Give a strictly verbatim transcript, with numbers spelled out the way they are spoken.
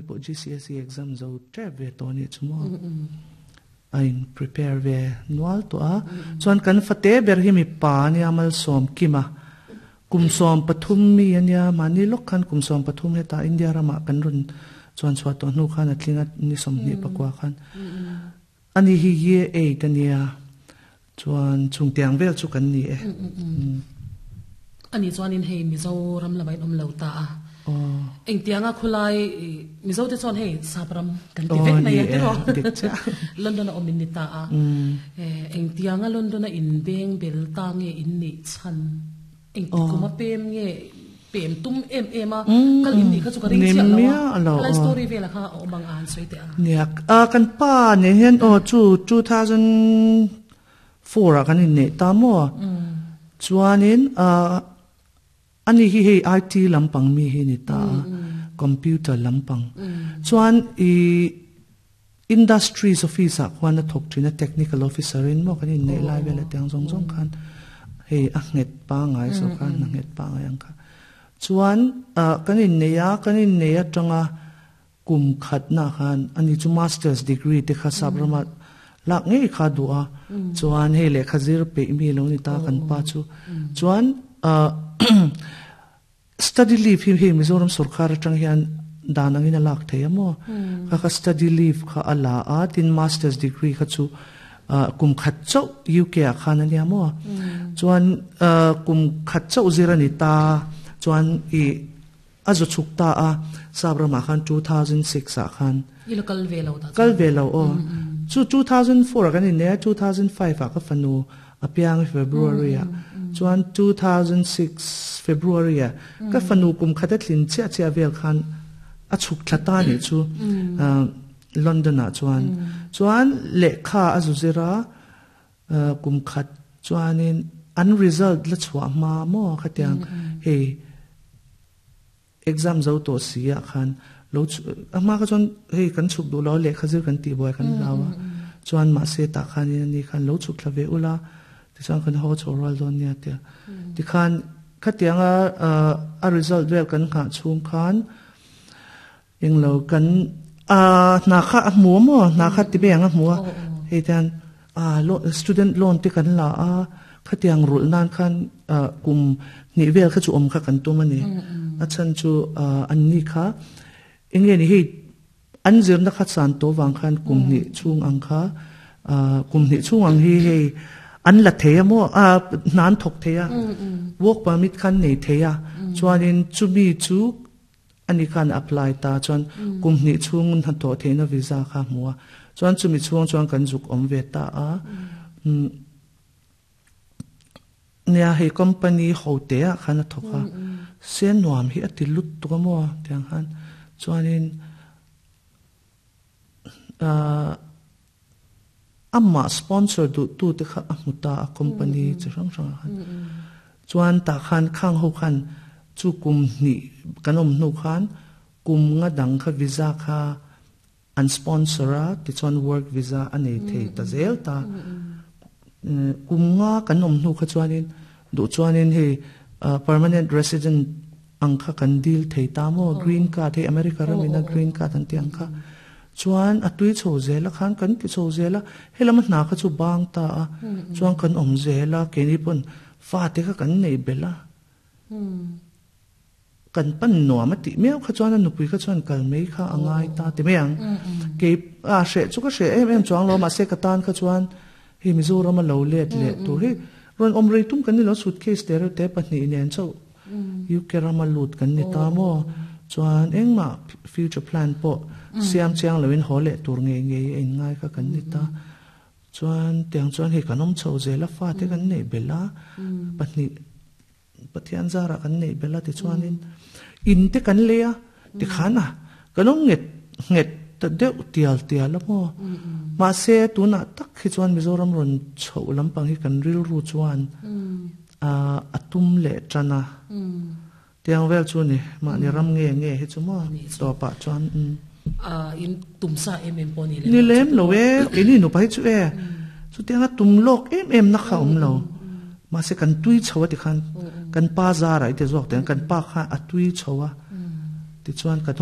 pawh G C S E exam zo tep ve tawh ni chu maw a in prepare ve nual tawh a chuan kan fate ber hi mi pa ania Malsawm Kima kum sawm pathum mi ania mahni lawk khan kum sawm pathum heta India ramah kan rawn chuan chhuah tawh hnu khan a tlinga ni sawmhnih pakua khan ani hi year eight ania chuan chungtiang vel chu kan ni e ani chuan in hei Mizoram lamah in awm lo ta a engtianga khulai Mizo te chuan hei Sapram kan ti vek mai a tiraw London a awm in ni ta a engtianga London a in beng bel ta nge in nih chhan engti kuma pem nge pem tum em em a kal in nih kha chu ka ring chiah lo a lai story vela kha a awm ang a han sawi teh a nia a kan pa ne hian aw chu two thousand four a kan in nei ta maw chuanin a ani hi hei I T lampang mi hi ni ta computer lampang chuan i industries office ah khuan a thawk thin a technical officer in maw kan in nei lai vel a tiang zawng zawng khan hei a nghet pangai so khan a nghet pangai ang kha chuan kan in nei a kan in nei atanga kum khat na khan ani chu masters degree te kha sabrama lak ngei kha du a chuan hei le khazir pe mi lo ni ta kan pa chu chuan study leave hi hei Mizoram sarkar atang hian danangin a lak thei amo kha kha study leave kha ala a tin masters degree kha chu kum khat chau U K a khan ania mo chuan kum khat chau zirani ta chuan i azu chuk ta a sabrama khan two thousand six a khan ilo kal ve lo ta kal ve lo o chu two thousand four kan in ne two thousand five a ka fanu apiang February a chuan two thousand six February a ka fanu kum khata thlin chia chia vel khan a chuk thlata ni chu London a chuan chuan lekha azu zira kum khat chuanin an result la chhuwa ma mo khatiang hei exam zo to sia khan lo ama ka chuan hei kan chuk du lo le khazir kan ti boy kan lawa chuan ma se ta khan ni khan lo chuk thlave ula ti chuan kan ho choral don nia te ti khan khatianga a result vel kan kha chung khan englo kan a na kha a mu mo na kha ti be anga mu hei tan a student loan te kan la a khatiang rul nan khan kum ni vel kha chu om kha kan tum ani a chan chu an ni kha enge ni hei an zir na khat san to wang khan kum ni chung ang kha kum ni chung ang hi hei an la theia mo a nan thok theia work permit khan nei theia chuanin chumi chu ani khan apply ta chuan kum ni chung na to theina visa kha muwa chuan chumi chung chuan kan zuk om ve ta a nia hei company ho te a khan a thoka sen nuam hi ati lut tu mo tiang han chuanin amma sponsor du tu te kha amuta a company chi rang rang han chuan ta khan khang ho khan chu kum ni kanom nu khan kum nga dang kha visa kha an sponsor a ti chuan work visa anei thei ta zel ta kum nga kanom nu kha chuanin du chuanin hei permanent resident ang kha kan deal thei ta mo green card hei America ramina green card an ti ang kha chuan atui chho zela khan kan ti chho zela helama hna kha chu bang ta a chuan kan om zela keni pon fa te kha kan nei bela kan pan nuam ti meu kha chuan nu pui kha chuan kal mei kha angai ta ti meang ke a she chu ka she em em chuang lo ma se ka tan kha chuan hi Mizoram a lo let le tu hi ron om rei tum kan ni lo suitcase te te pahnih nen chau U K rama lut kan ni ta mo chuan engma future plan po siam chiang loin hole tur nge nge in ngai ka kan ni ta chuan tiang chuan hi kanom chho zela fa te kan nei bela pahnih pathian zara kan nei bela ti chuanin in te kan leia ti khana kanom nget nget ta deuh tial tial mo ma se tuna tak hi chuan Mizoram ron chho lampang hi kan ril ru chuan a atum le chana tiang vel chu ni ma ni ram nge nge hi chu mo to pa chuan a in tumsa em em poni le ni lem lo e ini no pai chu e chu tiang a tum lok em em na kha om lo ma se kan tui chhowa ti khan kan pa za rai te zawk ten kan pa kha a tui chhowa ti chuan ka